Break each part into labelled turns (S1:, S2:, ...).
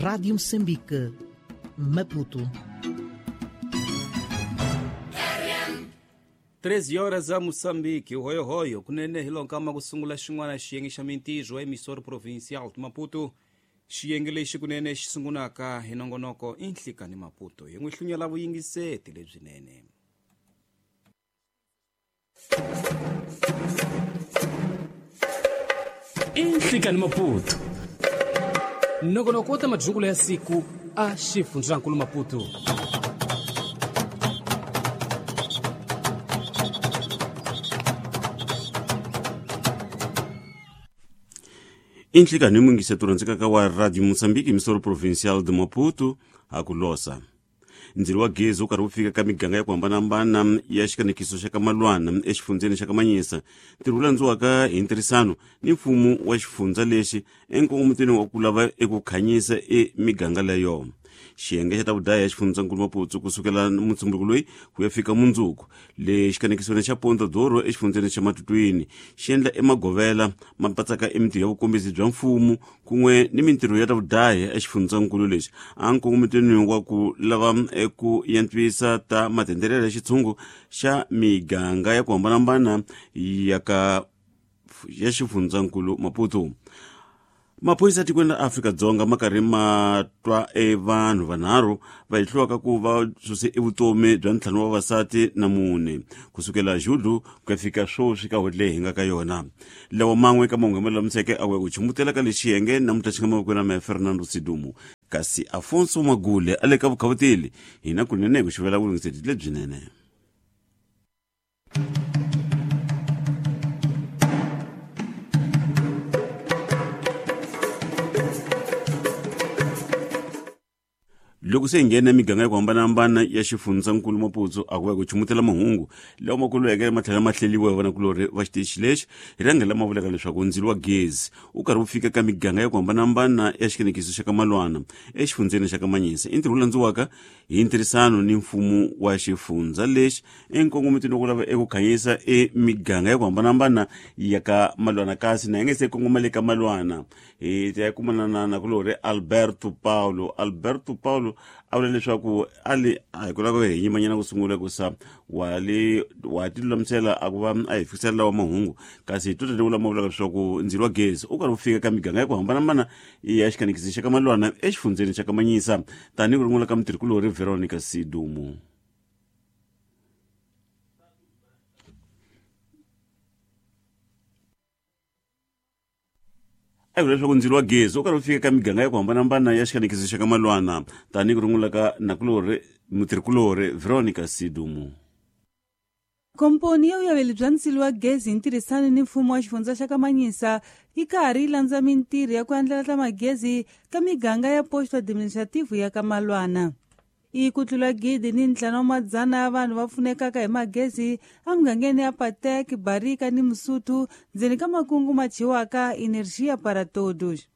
S1: Rádio Moçambique, Maputo.
S2: 13 horas a Moçambique, hoyo-hoyo, kunene hi lonkama ku sungula xin'wana xiyenge xa mintirho emissoro provincial de Maputo. Xiyenge lexi kunene xi sungulaka hi nongonoko i Nhlikani Maputo hi n'wi hlunyela vuyingiseti lebyinene.
S3: I Nhlikani Maputo, nongonoko wa ta madyukulo ya siku a xifundzankulu Maputo.
S4: Inhlikani mungiseto rhandzekaka wa Radio Moçambique, emissora provincial de Maputo, a ku losa. Ndzilo wa gezi wu karhi wu fika ka miganga ya ku hambanahambana ya xikanekiso xa ka Malwana exifundzeni xa ka Manyisa. Ntirho wu landziwaka hi ntirhisano ni mfumo wa xifundza lexi enkongometweni wa ku lava eku khanyisa emiganga leyo. Xiyenge xa ta vudaya ya xifundzankulu Maputo kusukela mutsumbuko loyi ku ya fika mundzuku le xikanekisweni xa Ponta Douro exifundzeni xa Matutwini xi endla emagovela ma patsaka emintirho ya vukombisi bya mfumo kun'we ni mintirho ya ta vudaya exifundzankulu lexi a nkongometweni wa ku lava eku yantswisa ta matendelelo ya xitshungu xa miganga ya ku hambanahambana ya ka ya xifundzankulu Maputo. Maphorisa tikweni la Afrika-Dzonga ma karhi ma twa evanhu vanharhu va hehliwaka ku va suse evutomi bya ntlhanu wa vavasati na mune kusukela Julho ku ya fika sweswi ka n'hweti leyi hi nga ka yona. Lawa man'we ka mahungu lama lulamiseke a ku ya ku chumutela ka lexi xiyenge namuntlha xi nga mavokweni ya mehe Fernando Sidumo, kasi Afonso Magule a le ka vukhavuteli hina kunene hi ku xivela vulungiseti lebyinene. Loko se hi nghena miganga ya ku hambanahambana ya xifundzankulu Maputo a ku ya ku chumutela mahungu lawa ma kulweke ma tlhela ma hleliwa hi vanakulorhi va xitichi lexi hi rhanga lama vulaka leswaku ndzilo wa gezi wu karhi wu fika ka miganga ya ku hambanahambana ya xikanekiso xa ka Malwana exifundzeni xa ka Manyisa. I ntirho wu landziwaka hi ntirhisano ni mfumo wa xifundza lexi enkongometweni wa ku lava eku khanyisa emiganga ya ku hambanahambana ya ka Malwana, kasi na hi nge se kongoma le ka Malwana hi ta ya kumana na nakulorhi Alberto Paulo. Alberto Paulo a vula leswaku a li a hi ku lava hi yimanyana ku sungula ku sa wa li wa ti lulamisela a ku va a hi fikisela lawa mahungu, kasi hi totele lama vulaka leswaku ndzilo wa gezi u karhi wu fika ka miganga ya ku hambanahambana ya xikanekisi xa ka Malwana exifundzeni xa ka Manyisa, tanihi ku rungula ka mutirhikulorhi Veronica Sidumo. A vula leswaku ndzilo wa gezi wu karhi wu fika ka miganga ya ku hambanahambana ya xikanekiso xa ka Malwana, tanihi ku rungula ka nakulorhi mutirhikulorhi Veronica Sidumo.
S5: Komponi ya vuyaveli bya ndzilo wa gezi hi ntirhisano ni mfumo wa xifundza xa ka Manyisa yi karhi yi landza mintirho ya ku andlala ta magezi ka miganga ya posto administrativo ya ka Malwana. I ku tlula 1,500 ya vanhu va pfunekaka hi magezi emugangeni ya Patek, Barika ni Musuthu ndzeni ka makungu ma thyiwaka Energia para Todos.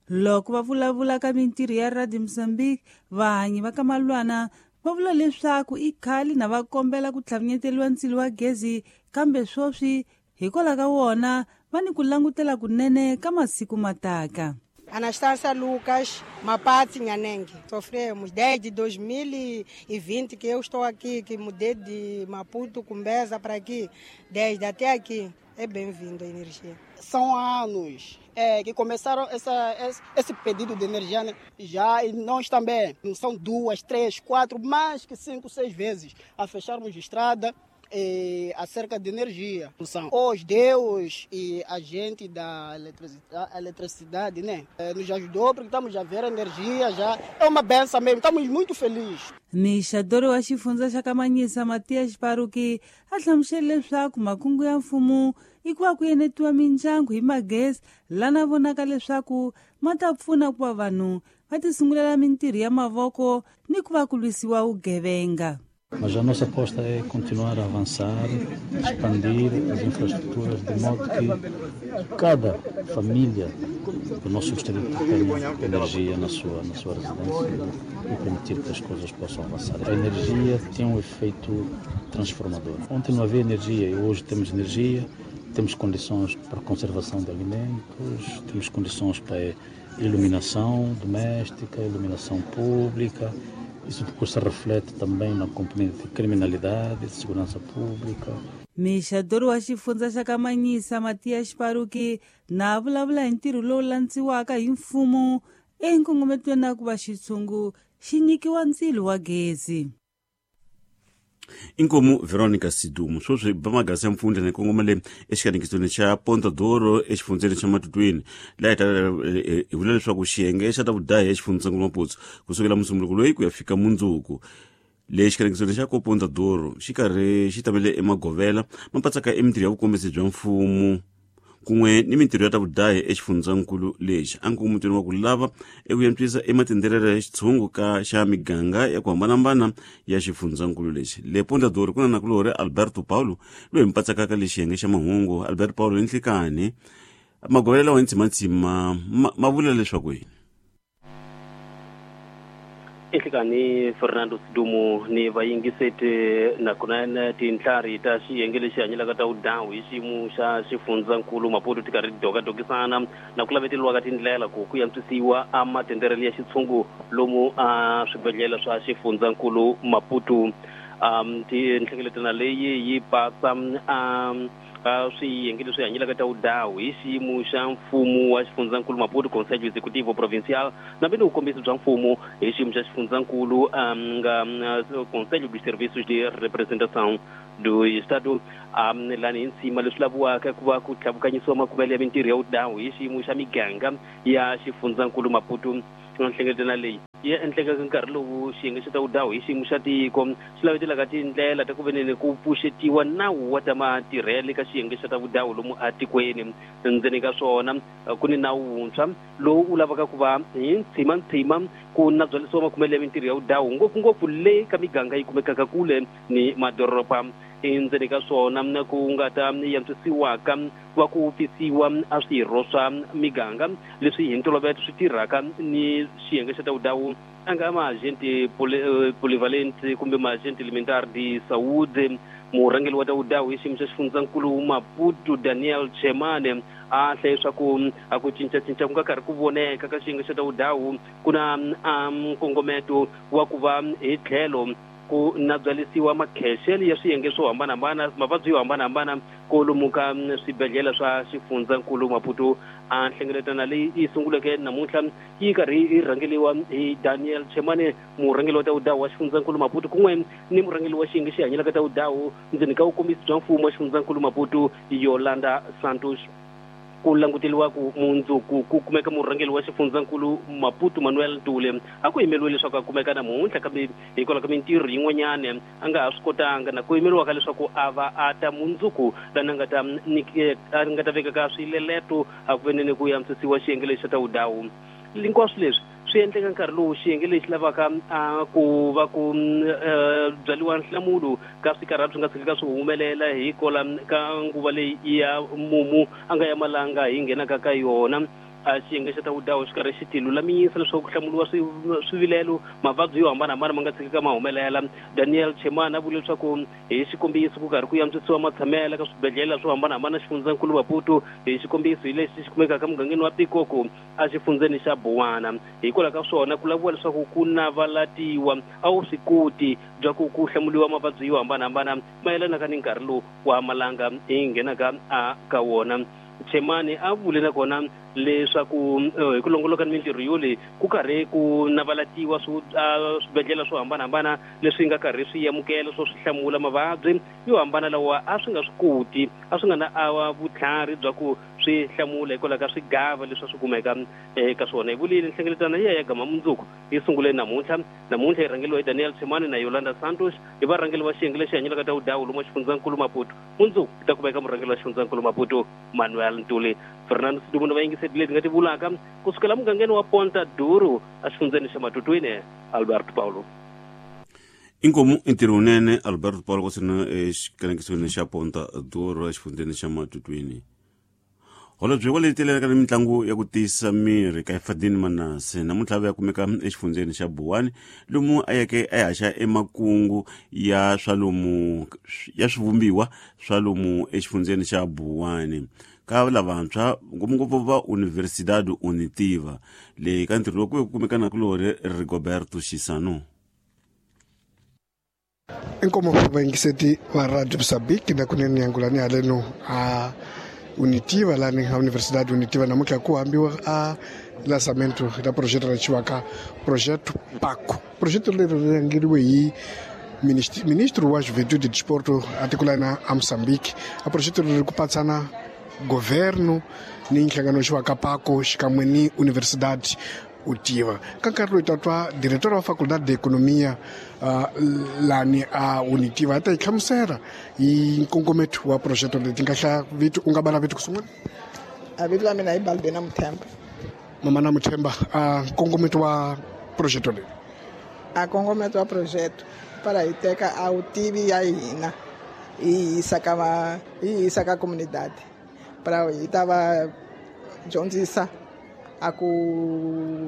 S5: Loko va vulavula ka mintirho ya Radio Mozambique, vahanyi va ka Malwana va vula leswaku i khale na va kombela ku tlhavinyeteliwa ndzilo wa gezi, kambe sweswi hikwalaho ka wona va ni ku langutela kunene ka masiku mataka.
S6: Anastácia Lucas, Mapatsi Nhanengue. Sofremos desde 2020 que eu estou aqui, que mudei de Maputo, Cumbeza para aqui, desde até aqui. É bem-vindo a energia.
S7: São anos que começaram esse pedido de energia, né? Já, e nós também. São 2, 3, 4, mais que 5, 6 vezes a fecharmos estrada acerca de energia. São os Deus e a gente da eletricidade, né? Nos ajudou porque estamos a ver energia já. É uma benção mesmo, estamos muito felizes.
S5: Mixadori wa xifundza xa ka Manyisa Matias Paruki a hlamusele leswaku makungu ya mfumo i ku va ku enetiwa mindyangu hi magezi lana vonaka leswaku ma ta pfuna ku va vanhu va ti sungulela mintirho ya mavoko ni ku va ku lwisiwa vugevenga.
S8: Mas a nossa aposta é continuar a avançar, expandir as infraestruturas de modo que cada família do nosso distrito tenha energia na sua residência e permitir que as coisas possam avançar. A energia tem um efeito transformador. Ontem não havia energia e hoje temos energia, temos condições para conservação de alimentos, temos condições para Iluminação doméstica, iluminação pública. Isso depois se reflete também na componente de criminalidade, de segurança pública.
S5: Mixadori wa xifundza xa Kamanyisa Matias Paruki na vulavula hi ntirho lowu landziwaka hi mfumo enkongometweni na ku va xitshungu xi nyikiwa ndzilo wa gezi.
S4: Inkomu Veronica Sidumo sweswi ba magasi ya mpfundla ni kongoma le exikanekisweni xa Ponta Doro exifundzeni xa Matutwini laha hi ta hi vula leswaku xiyenge xa ta vudahi exifundzeni Maputo kusukela musunguluko loyi ku ya fika mundzuku. Le xikanekisweni xa ko Ponta Doro xi karhi xi tamele emagovela ma patsaka emintirho ya vukombisi bya mfumo kun'we ni mintirho ya ta vudahi exifundzankulu lexi a nkongometweni wa ku lava eku antswisa ematendelelo ya xitshungu ka xa miganga ya ku hambanahambana ya xifundzankulu lexi. Le Ponta Doro ku na nakulorhi Alberto Paulo loyi mi patsakaka le xiyenge xa mahungu. Alberto Paulo, ni nhlikani magovela lawa ntsimantsima ma vula leswaku yini?
S9: Enhlekani Fernando Sidumo ni vayingiseti nakona tintlhari ta xiyenge lexi hanyelaka ta vudawu hi xiyimo xa xifundzankulu Maputo ti karhi ti dokadokisana na ku laveteriwa ka tindlela ku ku antswisiwa a matenderelo ya xitshungu lomu a swibedhlele swa xifundzankulu Maputo. Tinhlengeletano leyi yi pasa a swiyenge leswi hanyelaka ta vudawu hi xiyimo xa mfumo wa xifundzankulu Maputo, Conselho Executivo Provincial, nambe ni vukombisi bya mfumo hi xiyimo xa xifundzankulu nga Conselho dos Serviços de Representação do Estado. Lani hi nsima leswi laviwaka ku va ku tlhavukanyisiwa makumelo ya mintirho ya vudawu hi xiyimo xa miganga ya xifundzankulu Maputo. Nhlengeletano leyi yi endlekaka nkarhi lowu xiyenge xa ta vudawu hi xiyimo xa tiko xi lavetelaka tindlela ta ku veneni ku pfuxetiwa nawu wa ta matirhele ka xiyenge xa ta vudawu lomu atikweni. Ndzeni ka swona ku ni nawu wuntshwa lowu wu lavaka ku va hi ntshimantsima ku nabyalisiwa makumelo ya mintirho ya vudawu ngopfungopfu le ka miganga yi kumekaka kule ni madoroba. Endzeni ka swona ku nga ta yantswisiwaka ku va ku pfisiwa a swirho swa miganga leswi hi ntolovelo swi tirhaka ni xiyenge xa ta vudawu a nga maagente polyvalente kumbe maagente elementar de saúde. Murhangeri wa ta vudawu hi xiyimo xa xifundzankulu Maputo Daniel Chemane a hlaye leswaku a ku cincacinca ku nga karhi ku voneka ka xiyenge xa ta vudawu ku na nkongometo wa ku va hi tlhelo ku nabyalisiwa makhexele ya swiyenge swo hambanahambana mavabyi yo hambanahambana kolomu ka swibedhlele swa xifundzankulu Maputo. A nhlengeletano leyi yi sunguleke namuntlha yi karhi yi rhangeriwa hi Daniel Chemane, murhangeri wa ta vudawu wa xifundzankulu Maputo, kun'we ni murhangeri wa xiyenge xi hanyelaka ta vudawu ndzeni ka vukombisi bya mfumo wa xifundzankulu Maputo Yolanda Santos. Ku languteriwa ku mundzuku ku kumeka murhangeri wa xifundzankulu Maputo Manuel Ntule a ku yimeriwe leswaku a kumeka namuntlha, kambe hikwalaho ka mintirho yin'wanyana a nga ha swi kotanga na ku yimeriwaka leswaku a va a ta mundzuku lani a nga ta a nga ta vekaka swileleto a ku veneni ku antswisiwa xiyenge lexi xa ta vudawu. Hinkwaswo leswi swi endleka nkarhi lowu xiyenge lexi lavaka a ku va ku byariwa nhlamulo ka swikarhati swi nga tshikaka swi humelela hikola ka nguva leyi ya mumu a nga ya malanga hi nghenaka ka yona. A xiyenge xa ta vudawu xi karhi xi ti lulamisa leswaku ku hlamuriwa swivilelo mavabyi yo hambanahambana ma nga tshikaka ma humelela. Daniel Chemane a vule leswaku hi xikombiso ku karhi ku antswisiwa matshamelo ka swibedhlele swo hambanahambana xifundzankulu Maputo, hi xikombiso hi lexi xi kumekaka mugangeni wa Pikoko a xifundzeni xa Buwana. Hikwalaho ka swona ku laviwa leswaku ku navalatiwa a wu swi koti bya ku ku hlamuriwa mavabyi yo hambanahambana mayelanaka ni nkarhi lowu wa malanga hi nghenaka a ka wona. Chemane a vule nakona leswaku hi ku longoloka ni mintirho yo leyi ku karhi ku navalatiwa swibedhlele swo hambanahambana leswi nga karhi swi amukela swo swi hlamula mavabyi yo hambana lawa a swi nga swi koti a swi nga na a vutlhari bya ku swi hlamula hikwalaho ka swigava leswi a swi kumeka eka swona. Hi vulile nhlengeletano ya gama mundzuku yi sungule namuntlha. Namuntlha yi rhangeriwa hi Daniel Chemane na Yolanda Santos hi varhangeri va xiyenge lexi hanyelaka ta vudawu lomu xifundzankulu Maputo. Mundzuku ku ta kumeka murhangeri wa xifundzankulu Maputo Manuel Ntuli. Fernando Sidumo na vayingiseti leti nga ti vulaka kusukela mugangeni wa Ponta Duro exifundzeni xa Matutwini, Alberto Paulo.
S4: Inkomu ntirho wunene Alberto Paulo kwasina exikanekisweni xa Ponta Duro exifundzeni xa Matutwini. Holobye wa leyi telelaka ni mitlangu ya ku tiyisa miri ka Fadini Manase namuntlha va ya kumeka exifundzeni xa Buwani lomu a yeke a haxa emakungu ya swa lomu ya swivumbiwa swa lomu exifundzeni xa Buwani. ka lavantshwa ngopfungopfu va Universidade Unitiva leyi ka ntirho lowu ku kumekana kulori Rigoberto Xisano.
S10: Inkomo vayingiseti va Radio Mozambique na kunene yangulani haleno a Unitiva lani a Universidade Unitiva namuntlha ku hambiwa a lançamento ra projeto ra chiwaka projeto PACO. Projeto leri ri rhangeriwe hi ministro wa Juventude e Desporto atikulana a Mozambique. A projeto leri ku patsana governo ni nhlangano xiwaka PACO xikan'we ni Universidade Utiva. Ka nkarhi loyi tatwa diretor wa Faculdade de Economia lani a Unitiva a ta yi hlamusela hi nkongometo wa projeto leti nga hlaya vito u nga bala vito ku sungula.
S7: A vito la mina i Balbina Muthemba.
S10: Mama na Muthemba, a nkongometo wa projeto leyi.
S7: A nkongometo wa projeto para hi teka a vutivi ya hina hi yisa ka va hi yisa ka comunidade para hi ta va dyondzisa a ku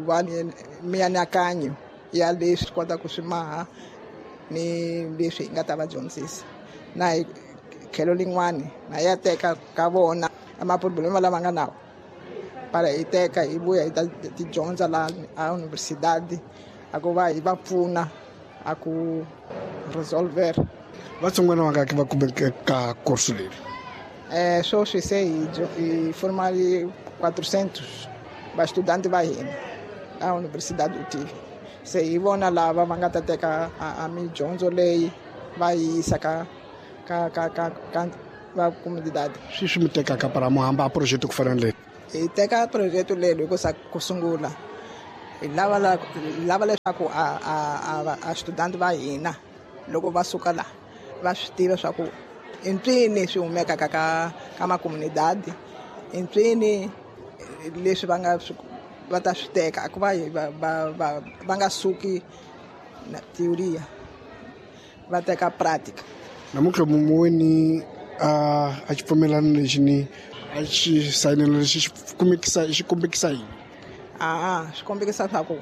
S7: va ni mianakanyo ya leswi kota ku swi maha ni leswi hi nga ta va dyondzisa na hi tlhelo lin'wani na ya teka ka vona maproblema lama nga nawo para hi teka hi vuya hi ta ti dyondza la a universidade a ku va hi va pfuna a ku resolver.
S10: Vatsongwana vangaki va kumeke ka course leri?
S7: Sweswi se hi formali 400 va-estudante va hina a Universidade Utiva. Se hi vona lava va nga ta teka a midyondzo leyi va yisa ka ka ka ka ka va comunidade.
S10: Swi swi mi tekaka para mo hamba a projeto ku fana na leyi?
S7: Hi teka projeto leri hi ku sa ku sungula hi lava leswaku a student va hina loko va suka la va swi tiva swa ku i mpfini swi humekaka ka makomunidadi, i mpfini leswi va nga va ta swi teka a ku va va nga suki na teoria va teka pratica.
S10: Namuntlha muweni a xipfumelano lexi ni a xi sayinelo lexi xi kumekisa xi kombekisa yini?
S7: A swi kombekisa swa ku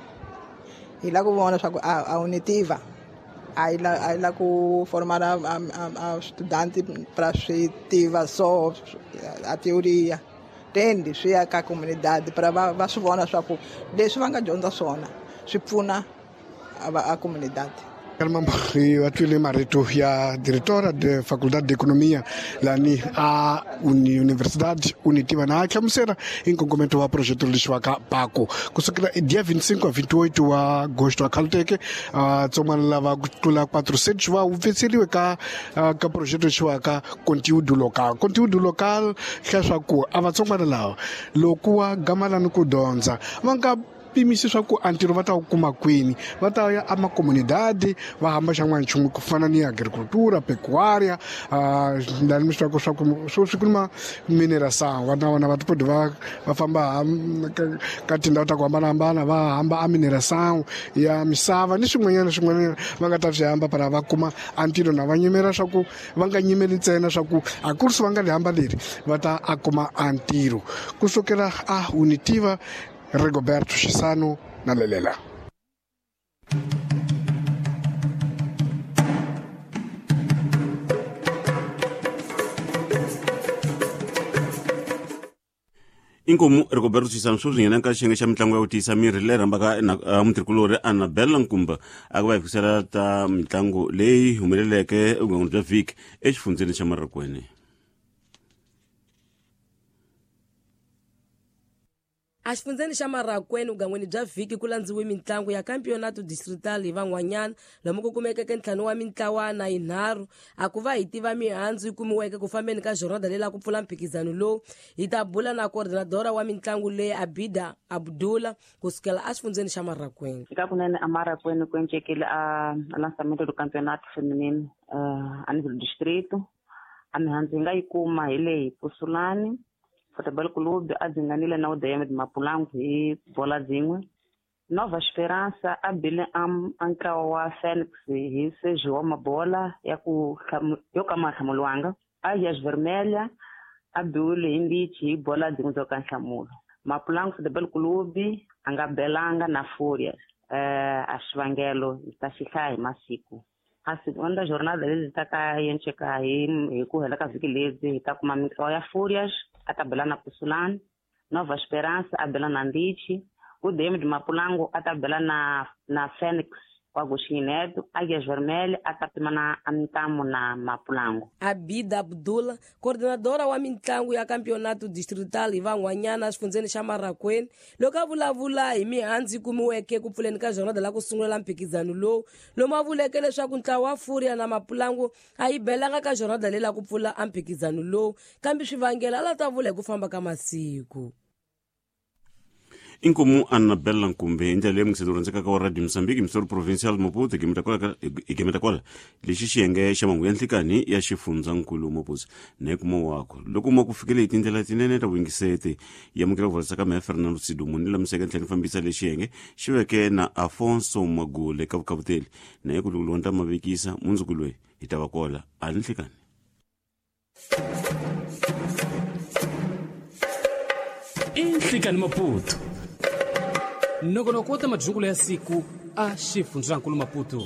S7: hi lava ku vona swa ku a Unitiva a yi la ku formala a studante para swi tiva so a teoria tendi swi ya ka comunidade para va swi vona swa ku leswi va nga dyondza swona swi pfuna a comunidade.
S10: Va twile marito ya diretora de Faculdade de Economia lani a Universidade Unitiva na a hlamusela hi nkongometo wa projeto lexiwaka PACO kusukela dia 25 a 28 wa agosto a khaluteke tsongwana lava ku tlula 400 va wupfetseriwe ka ka projeto lexiwaka conteúdo local. Conteúdo local hlaya swa ku a vatsongwana lava loko wa gamalani ku dyondza va nga pimisi swa ku a ntirho va ta wu kuma kwini, va ta ya amakomunidade va hamba xan'wana nchumu ku fana ni agricultura, pecuária, lani mi swi tivaka swa ku swi kuma mineração. Va na vona va tipodi va famba ka tindhawu ta ku hambanahambana va hamba a mineração ya misava ni swin'wanyana swin'wanyana va nga ta swi hamba para va kuma a ntirho na va nyimela swa ku va nga nyimeli ntsena swa ku a kurisi va nga li hamba leri va ta a kuma a ntirho. Kusukela a Unitiva, Rigoberto Xisano na Lelela.
S4: Inkomu Rigoberto Xisano sweswi nghena ka xiyenge xa mitlangu ya ku tiyisa miri leyi rhambaka mutirhikulori Annabella Nkumba a ku va hi fikisela ta mitlangu leyi humeleleke evugangeni bya vhiki exifundzeni xa Marikweni.
S11: Exifundzeni xa Marikweni vugangweni bya vhiki ku landziwe mitlangu ya Campeonato Distrital hi van'wanyana lomu ku kumekeke ntlhanu wa mintlawana yinharhu a ku va hi tiva mihandzu yi kumiweke ku fambeni ka jornada leyi la ku pfula mphikizano lowu. Hi ta bula na coordinadora wa mitlangu leyi Abida Abdullah kusukela exifundzeni xa Marikweni.
S12: Eka kunene a Marikweni ku encekile a lançamento do Campeonato Feminino a nível do distrito. A mihandzu hi nga yi kuma hi leyi Pusulani Futebol Clube a dzinganile na UDM de Mapulangu hi bola dzin'we. Nova Esperança a bile a ntlawa wa Phoenix hi seji wa mabola ya ku yo ka ma hlamuriwanga. Águias Vermelha a biwile hi mbichi hi bola dzin'we byo ka nhlamulo. Mapulangu Futebol Clube a nga belanga na Fúrias. A xivangelo hi ta xi hlaya hi masiku. A segunda jornada leti ta ka yenceka hi ku hela ka vhiki lebyi hi ta kuma mintlawa ya Fúrias a ta bela na Pusulani, Nova Esperança a bela na Andite, o DM de Mapulango a ta bela na Fênix o Agostinho Neto, Águias Vermelhas, a ta pima na Mintamo na Mapulango.
S11: Abida Abdullah, coordenadora wa mintlangu ya campeonato distrital hi van'wanyana exifundzeni xa Marracuene, loko a vulavula hi mihandzu yi kumiweke ku pfuleni ka jornada la ku sungula la mphikizano lowu, lomu a vuleke leswaku ntlawa wa Fúria na Mapulangu a yi belanga ka jornada leyi la ku pfula a mphikizano lowu, kambe swivangelo a la ta vula hi ku famba ka masiku.
S4: Inkomu Annabella Nkumbe hi ndlela leyi mungiseti rhandzekaka wa Radio Mozambique Missouri Provincial Maputo hi gemeta kwala lexi xiyenge xa mahungu ya nhlikani ya xifundzankulu Maputo na hi kuma wako loko ma ku fikele hi tindlela tinene ta vuyingiseti yamukela ku vurisa ka mehe Fernando Sidumo ni lamiseke ntlhela ni fambisa lexi xiyenge xi veke na Afonso Magule ka vukavuteli na hi ku loko ta mavekisa mundzuku loyi hi ta va kola a ni nhlikani.
S3: Inhlikani Maputo nongonoko wa ta madyungulo ya siku a xifundzankulu Maputo.